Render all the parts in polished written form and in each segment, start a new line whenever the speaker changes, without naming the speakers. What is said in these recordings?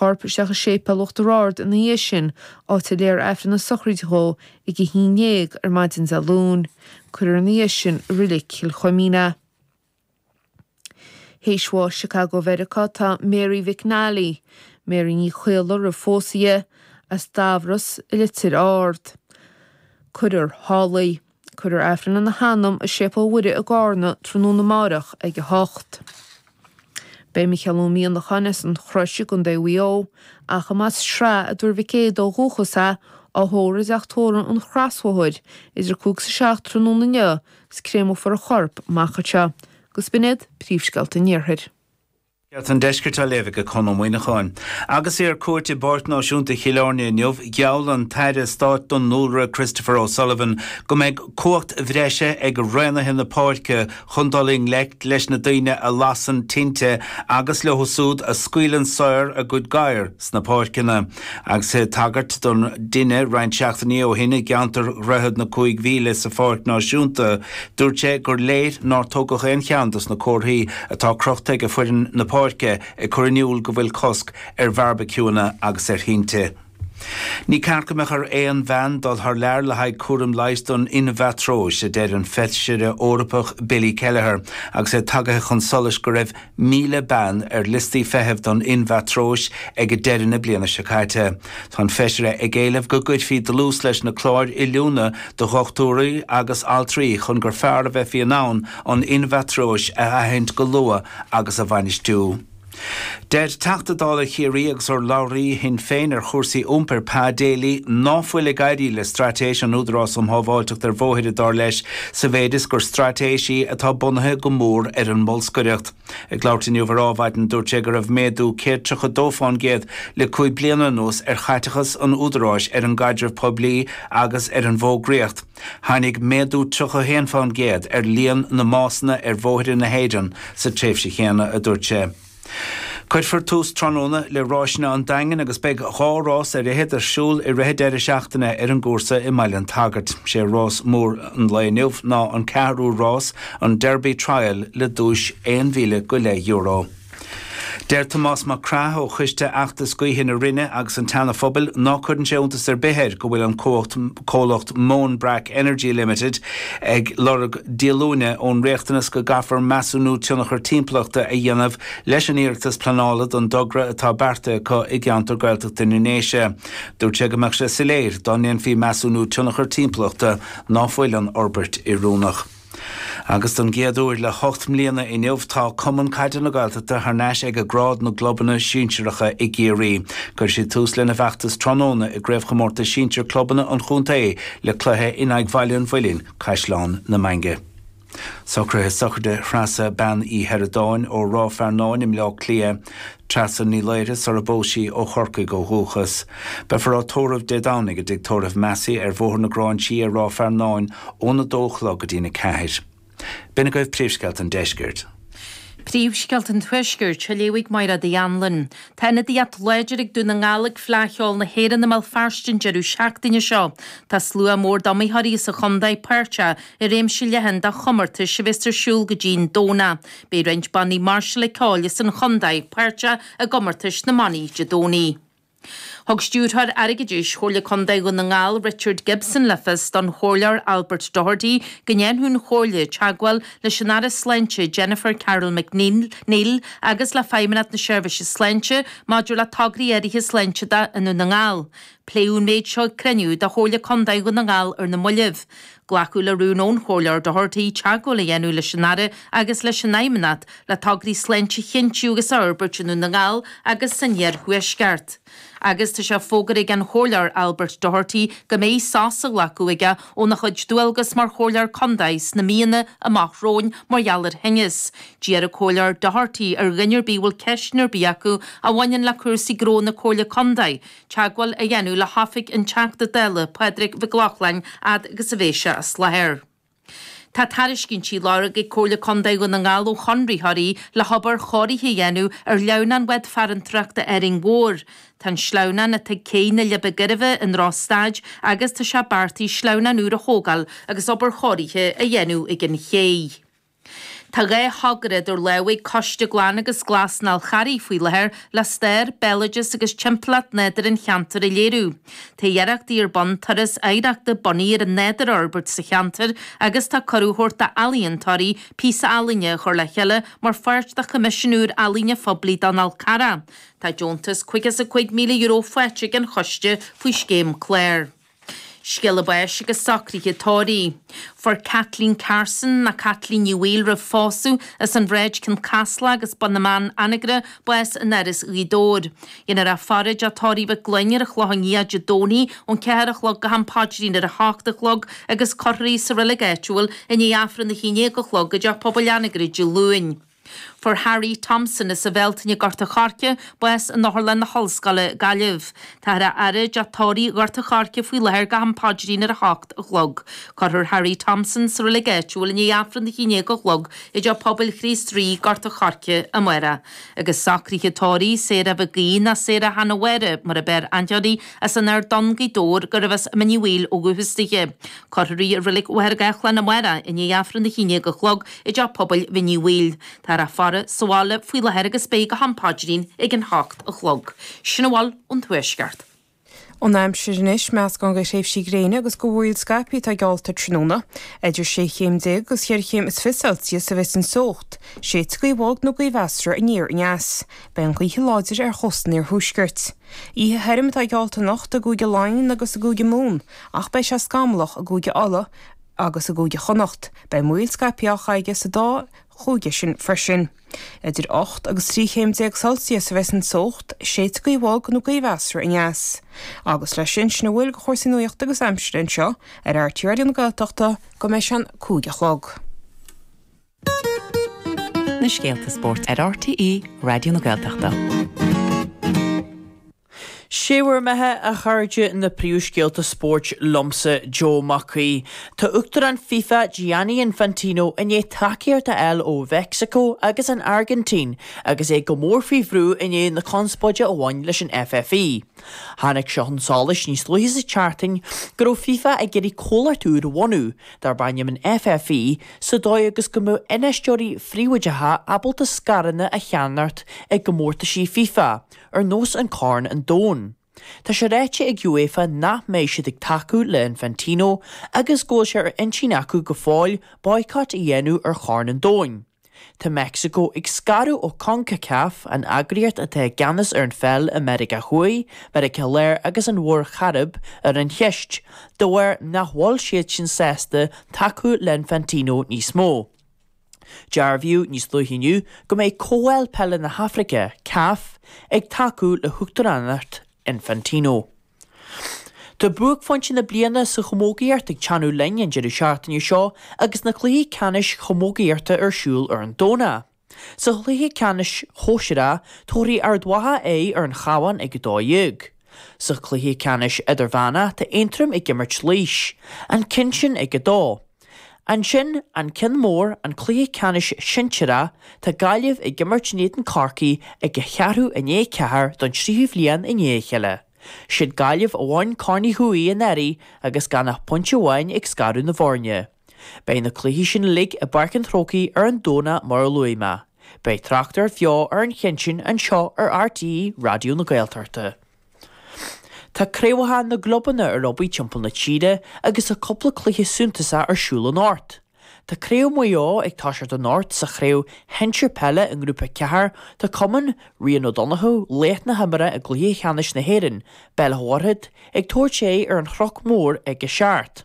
Corp isteach i Séipéal Uachtar Ard ina dhiaidh sin, áit a léifear Aifreann na sochraide dhó ag a 11 ar maidin Dé Luain. Cuirfear ina dhiaidh sin i Reilig Chill Chuimín é. Théis bháis i Chicago Mheiriceá tá Mary McNally, Mary Ní Chaola roimh phósadh di, as Dubhros i Leitir Ard. Cuirfear thall í. Cuirfear Aifreann lena hanam i Séipéal Mhuire i gCarna tráthnóna amáireach ag 8. Beidh Micheál Ó Mianacháin as an Chrois i gContae Mhaigh Eo, ach a mba as Sraith i dTuar Mhic Éadaigh ó dhúchas é, á thórramh i dteach tórraimh an Chrosbhóthair idir 5 agus 7 tráthnóna inniu agus créamófar a chorp amach anseo. Agus b'in iad príomhscéalta an Iarthair.
Scéalta an Deiscirt á léamh ag Conn Ó Muíneacháin. Agus é ar cuairt i bPáirc Náisiúnta Chill Airne inniu, gheall an tAire Stáit don Dúlra Christopher O'Sullivan go mbeidh cumhacht bhreise ag raonaithe na páirce chun dul i ngleic leis na daoine a lasann tinte agus leo siúd a scaoileann saor a gcuid gadhar sna páirceanna. Agus é ag tagairt don dtine roinnt seachtainí ó shin i gceantar Dhroichead na Cúig Mhíle sa Pháirc Náisiúnta, dúirt sé gur léir nár tógadh aon cheann dos na comharthaí atá crochta ag foireann na páirce ag cur in iúl go bhfuil cosc ar bheárbaiciúanna agus ar thinte. Ní ceart go mbeadh ar aon bhean dul thar lear le haghaidh cúram leighis don inmheatróis, a deir an Feisire Eorpach Billy Kelleher, agus é tagaithe chun solais go raibh 1,000 bean ar liostaí feithimh don inmheatróis ag deireadh na bliana seo caite. Tá an Feisire ag éileamh go gcuirfí dlús leis na cláir oiliúna do dhochtúirí agus altraí chun gur fearr a bheifí in ann an inmheatróis a aithint go luath agus a bhainistiú. Deir Teachta Dála Chiarraí agus urlabhraí Shinn Féin ar chúrsaí iompair Pa Daly ná fuil ag éirí le straitéis an Údarás um Shábháilteacht ar Bhóithre, dar leis, sa mhéid is gur straitéis í atá bunaithe go mór ar an mbolscaireacht. Ag labhairt inniu ar Ádhmhaidin dúirt sé go raibh méadú 132 fán gcéad le 5 bliana anuas ar chaiteachas an Údaráis ar an gcaidreamh poiblí agus ar an bhfógraíocht. Tháinig méadú 31% ar líon na mbásanna ar bhóithre na hÉireann sa tréimhse chéanna, a dúirt sé. Cuirfear tús tráthnóna le Ráiseanna an Daingin agus beidh dhá rás ar fhichead ar siúl i rith an deireadh seachtaine ar an gcúrsa i mBaile an tSagairt. Sé rás mór an lae inniu ná an ceathrú rás, an Derby Trial le duais €1,000 go leith. Deir Tomás Mac Craith ó Choiste Fheachtas Gaoithe na Rinne agus an tSeana Phobail ná cuireann sé iontas ar bith air go bhfuil an comhacht comhlacht Móinbreac Energy Limited ag lorg díolúine ón riachtanas go gcaithfear measúnú tionchar timpeallachta a dhéanamh leis an iarratas pleanála don dtogra atá beartaithe acu i gceantar Gaeltachta na nDéise. Dúirt sé go mbeadh sé soiléir dá ndéanfaí measúnú tionchar timpeallachta ná fuil an fhorbairt oiriúnach. Agus don gcéad uair le hocht mbliana inniu tá Cumann Caide na Gaeltachta thar n-ais ag grád na gclubanna sinsearacha i gCiarraí. Cuirfidh siad tús lena bhfeachtas tráthnóna i gCraobhchomórtas Sinsir Clubanna an chontae le cluiche in aghaidh Bhaile an Mhuilinn, Caisleán na Mainge. Socruithe sochraide Threasa Bean Uí Sheireadáin ó Ráth Fearnáin i mBleá Cliath. Treasa Ní Laoire sara bpós sí ó Chorcaigh ó dhúchas. Beifear á tórramh Dé Domhnaigh i dTigh Tórraimh Massey ar Bhóthar na Gráinsí i Ráth Fearnáin óna dó a chlog go dtína ceathair. B'in agaibh príomhscéalta an deiscirt.
Príomhscéalta an Tuaiscirt, á léamh ag Mairéad Uí Anluain. Tá ionadaíocht láidir ag Dún na nGall ag Fleadh Cheoil na hÉireann i mBéal Feirste an deireadh seachtaine seo. Tá slua mór d'iomaitheoirí as an chontae páirteach i réimse leathan de chomórtais a bheas ar siúl go dtí'n Domhnach. Beidh roinnt bannaí máirseála ceoil as an chontae páirteach i gcomórtais na mbannaí Dé Domhnaigh. Thug Stiúrthóir Airgeadais Chomhairle Contae Dhún na nGall, Richard Gibson le fios don Chomhairleoir Albert Doherty go ndéanfadh an Chomhairle teagmháil leis an Aire Sláinte Jennifer Carroll MacNeill agus le Feidhmeannacht na Seirbhíse Sláinte maidir le tograí áirithe sláinte de i nDún na nGall. Pléadh an méid seo ag cruinniú de Chomhairle Contae Dhún na nGall ar na moillibh. Glacadh le rún ón Chomhairleoir Doherty teagmháil a dhéanamh leis an Aire agus leis an Fheidhmeannacht le tograí sláinte a chinntiú agus a fhorbairt i nDún na nGall agus san Iarthuaisceart. Agus tá sé fógartha ag an Chomhairleoir Albert Doherty go mbeidh sos á ghlacadh aige óna chuid dualgas mar Chomhairleoir Contae sna míonna amach romhainn mar gheall ar thinneas. D'iarr an Comhairleoir Doherty ar dhuine ar bith a bhfuil ceisteanna ar bith acu a bhaineann le cúrsaí gnó na Comhairle Contae teagmháil a dhéanamh le hoifig an Teachta Dála, Pádraig Mhic Lochlainn, fhad agus a bheidh sé as láthair. Tá tairiscintí á lorg ag Comhairle Contae Dhún na nGall ó chonraitheoirí le hobair chóirithe a dhéanamh ar shleamhnán Bhád Farantóireachta Árainn Mhór. Tá an sleamhnán atá ag cé na Leidhbe Gairbhe i ndrochstaid agus tá sé beartaithe sleamhnán úr a thógáil agus obair chóirithe a dhéanamh ag an ché. Tá 2 thogra idir lámha ag Coiste Glan agus Glas an Fhál Charraigh faoi láthair le stair, béaloideas agus timpeallacht nádúir an cheantair a léiriú. Tá iarrachtaí ar bun turas oidhreachta bunaithe ar an nádúr a fhorbairt sa cheantar agus tá cuireadh á thabhairt d'ealaíontóirí píosa ealaíne a chur le chéile mar pháirt de choimisiún úr ealaíne phoiblí don Fhál Carrach. Tá deontas €55,000 faighte ag an choiste faoi scéim clár. Scéala báis agus socruithe tórraimh. Fuair Kathleen Carson, nó Caitlín Ní Bhaoill roimh phósadh, as an Bhráid Cionn Caslach agus Bun na mBan, Anagaire, bás in Áras Ghaoth Dobhair. Dhéanfar í a faire i dteach tórraimh Mhic Gloinn ar an Chlochán Liath Dé Domhnaigh ón 4 a chlog go ham paidrín ar a hocht a chlog agus cuirfear í sa reilig áitiúil i ndiaidh Aifreann a haon déag a chlog i dteach pobail Anagaire Dé Luain. Fuair Harry Thompson as an Bhealtaine Gort a' Choirce bás in Otharlann na hOllscoile, Gaillimh. Táthar á fhaire i dteach tórraimh Ghort a' Choirce faoi láthair go ham paidrín ar a hocht a chlog. Cuirfear Harry Thompson sa reilig áitiúil i ndiaidh Aifreann a haon déag a chlog i dTeach Pobail Chríost Rí, Gort a' Choirce, amárach. Agus socruithe tórraimh Sarah Mhic Aoidh ná Sarah Hannah Mháire mar ab fhearr aithne uirthi as an Ard Donn, Gaoth Dobhair, gurbh as Mín Uí Bhaoill ó dhúchas dithe. Cuirfear í i reilig Mhachaire Gathlán amárach i ndiaidh Aifreann a haon déag a chlog i dTeach Pobail Mhín Uí Bhaoill. Táthar á faire sa bhaile faoi láthair agus beidh go ham paidrín ag an hocht a chlog. Sin a bhfuil ón Tuaisceart.
An aimsir anois, meascán de thréimhsí gréine agus de mhúraíl scaipthe atá geallta tráthnóna. Idir 16 chéim agus cheithre chéim is fiche Celsius a bheas an teocht. Séidfidh gaoth bhog nó gaoth mheasartha aniar aneas. Beidh an ghaoth láidir ar chósta an iarthuaiscirt. Oíche thirim atá geallta anocht i gCúige Laighean agus i gCúige Mumhan ach beidh sé scamallach i gCúige Uladh agus i gCúige Chonnacht. Beidh múraíl scaipthe á aige sa dá chúige sin freisin. Idir 8 agus 13 chéim Celsius a bheas an teocht, séidfidh gaoth bhog nó gaoth mheasartha aneas. Agus leis sin, sin a bhfuil de chúrsaí nuachta agus aimsire anseo ar RTÉ Raidió na Gaeltachta go mbeidh sé an 5 a chlog.
Na scéalta spóirt ar RTÉ Raidió na Gaeltachta.
Sé bhur mbeatha, a chairde, na príomhscéalta spóirt liomsa, Joe Mac Aoidh. Tá Uachtarán FIFA, Gianni Infantino, i ndiaidh tacaíocht a fháil ó Mheicsiceo agus an Airgintín agus é go mór faoi bhrú i ndiaidh na conspóide a bhain leis an FFI. Tháinig seo chun solais níos luaithe sa tseachtain go raibh FIFA ag iarraidh comhlacht úr a bhunú, darb ainm an FFI, sa dóigh agus go mbeadh infheisteoirí phríobháideacha ábalta scaireanna a cheannacht i gcomórtaisí FIFA. ar nós an Corn an Domhain. Tá sé ráite ag UEFA nach mbeidh siad ag tacú le Infantino agus go bhfuil sé ar intinn acu go fóill boycott a dhéanamh ar Chorn an Domhain. Tá Meicsiceo ag scaradh ó Concacaf, an eagraíocht atá i gceannas ar an pheil i Meiriceá Thuaidh, Meiriceá Láir agus an Mhuir Chairib ar an cheist, de bharr nach bhfuil siadsan sásta tacú le Infantino níos mó. Dearbhaíodh níos luaithe inniu go mbeidh Comhdháil Peile na hAfraice, CAF, ag tacú le huachtaránacht Infantino. Tá buaicphointe na bliana sa chamógaíocht ag teannadh linn an deireadh seachtaine seo agus na cluichí ceannais chamógaíochta ar siúl ar an Domhnach. Sa chluiche ceannais shóisearach, tabharfaidh Ard Mhacha aghaidh ar an Chabhán ag 12. Sa chluiche ceannais idirmheánach, tá Aontroim ag imirt Laois, an ceann sin ag 2. Ansin, an ceann mór, an cluiche ceannais sinsearach, tá Gaillimh ag imirt in éadan Corcaí ag a cheathrú i ndiaidh a ceathair don tríú bhliain i ndiaidh a chéile. Siad Gaillimh a bhain Corn Uí Thuathaigh anuraidh agus gan ach pointe amháin ag scaradh na bhfoirne. Beidh na cluichí sin uilig i bPáirc an Chrócaigh ar an Domhnach mar a luaigh mé. Beidh tráchtaireacht bheo ar an cheann sin anseo ar RTÉ Raidió na Gaeltachta. Tá craobhacha na gclubanna ar aghaidh timpeall na tíre agus tá cúpla cluiche suntasach ar siúl anocht. Tá Craobh Mhaigh Eo ag toiseacht anocht sa chraobh shinsir peile i nGrúpa 4 tá cumann Rian Ó Donnchú, laoch na himeartha i gcluiche cheannais na hÉireann, Béal Átha Mhuirthead, ag tabhairt aghaidh ar an Chnoc Mór ag a seacht.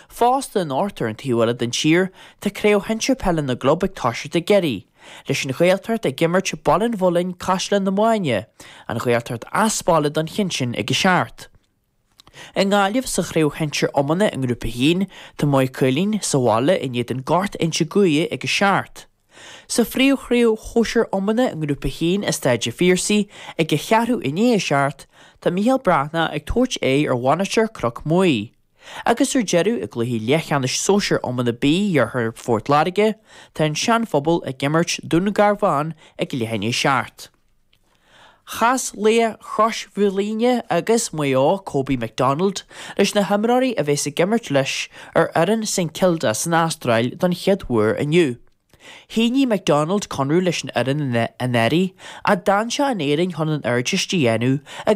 Fosta anocht ar an taobh eile den tír, tá Craobh Shinsir Peile na gClub ag toiseacht i gCiarraí, leis an Ghaeltacht ag imirt Baile an Mhuilinn, Caisleán na Maighne, an Ghaeltacht as baile don cheann sin ag a seacht. I nGaillimh sa Chraobh Shinsir Iomána i nGrúpa 1, tá Maigh Cuilinn sa bhaile in éadan Gort Inse Guaire ag a seacht. Sa phríomhchraobh shóisir iomána i nGrúpa 1 i Staid a' Phiarsaigh ag a cheathrú i ndiaidh a seacht, tá Mícheál Breathnach ag tabhairt aghaidh ar Mhainistir Cnoc Muaidh. Agus ar deireadh, i gcluiche leathcheannais sóisir iomána B Iarthar Phort Láirge, tá an Sean-Phobal ag imirt Dún Garbhán ag leath i ndiaidh a seacht. Chas laoch Chrois Mhaoilíona agus Maigh Eo, Kobe McDonald, leis na himreoirí a bheas ag imirt leis ar fhoireann St Kilda san Astráil don chéad uair inniu. Shínigh McDonald conradh leis an fhoireann anuraidh, ach d'fhan sé in Éirinn chun an Ardteist a dhéanamh agus.